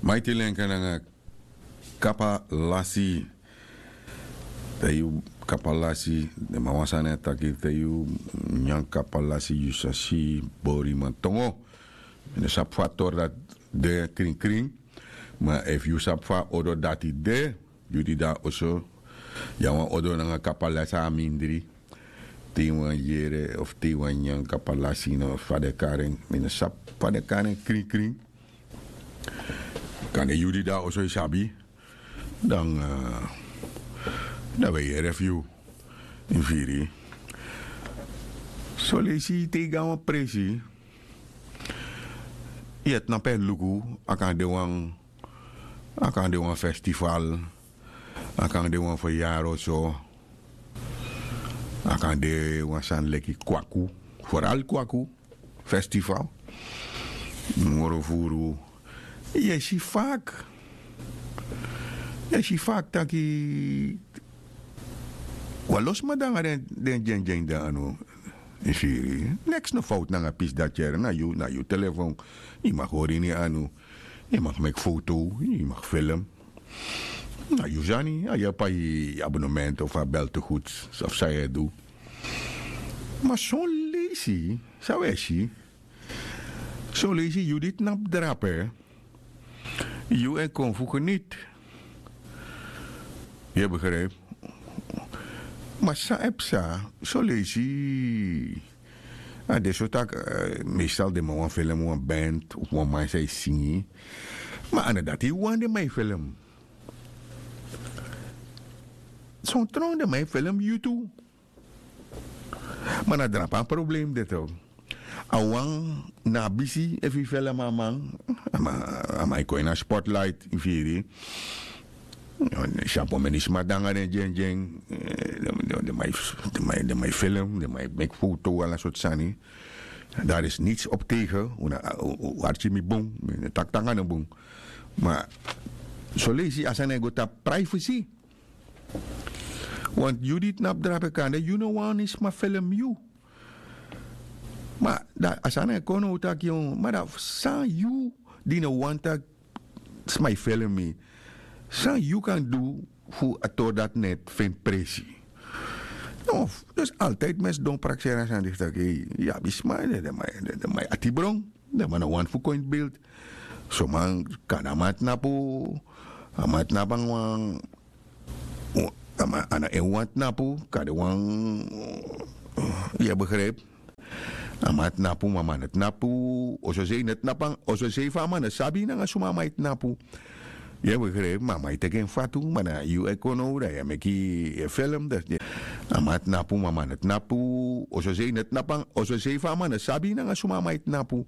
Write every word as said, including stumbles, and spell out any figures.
Maiti lenka nanga kapa lasi. Te yu kapa lasi, den man wan sani e taki te yu nyan kapa lasi yu sa si bori man tongo. Mi no sabi fa a tori dati de krinkrin. Ma efu yu sabi fa a odo dati de, yu di de na oso, yu abi wan odo nanga kapa lasi a mindri. Te yu wani yere of te yu wani nyan kapa lasi no, fa den e kari en, mi no sabi fa den e kari en krinkrin. Kande yu di de na oso yu sabi. Dan, dan wi e yere fu yu. Yu firi? Son leisi te yu go na wan presi, yu e tnapu e luku, a kan de wan, a kan de wan festival, a kan de wan feryari so, a kan de wan sani leki kwaku, foral kwaku, festival, moro furu. Yu e si fak, yu e si fak taki wan lo sma de nanga den dyendyen de na anu. Yu firi? Neks no fowtu nanga pisi dati yere, na yu, na yu telefon. Yu mag hori ini anu, yu mag meki foto, yu mag film. Na yu sani, a yu e pai abonnement of a beltegoed of san yu e du. Ma son leisi san wi e si, son leisi yu di tnapu drape, yu e kon fu geniti. Yu e begrijpi? Ma san e psa, son leisi a de so taki, meestal den man wani film wan band of wan man san e singi. Ma a no dati yu wani den man e film. Son tron den man e film yu tu. Ma na drape a problem de tu. A wan na a bisi efu yu film a man, a man e kon ini a spotlight, yu firi? Yu si a pomeni sma de nanga den dyendyen, den man e film, den man e meki foto, ala sortu sani. Dari is nits op tegen. Un arki mi bun, mi no taki taki a no bun. Ma son leisi a sani e go tapu privacy. Want yu di tnapu drape kande yu no wani sma film yu. Ma dan a sani e kon now taki, ma dan san yu di no wani taki sma e film yu, san yu kan du fu a tori dati no e feni presi? No, dus altijd mi e sidon prakseri a sani disi taki yu abi sma, den man e atibron, den man no wani fu kon ini beeld. Son man kande a man tnapu, a man tnapu nanga wan, a man a no en wan tnapu, kande wan, yu e begrijpi? A man tnapu, ma a man no tnapu. Oso sei no tnapu, oso sei fu a man no sabi nanga suma a man e tnapu. Yu e begrijpi? Ma a man e teki en fatu, ma na yu e kon now dan yu e meki, yu e film, dan a man tnapu, ma a man no tnapu. Oso sei no tnapu, oso sei fu a man no sabi nanga suma a man e tnapu.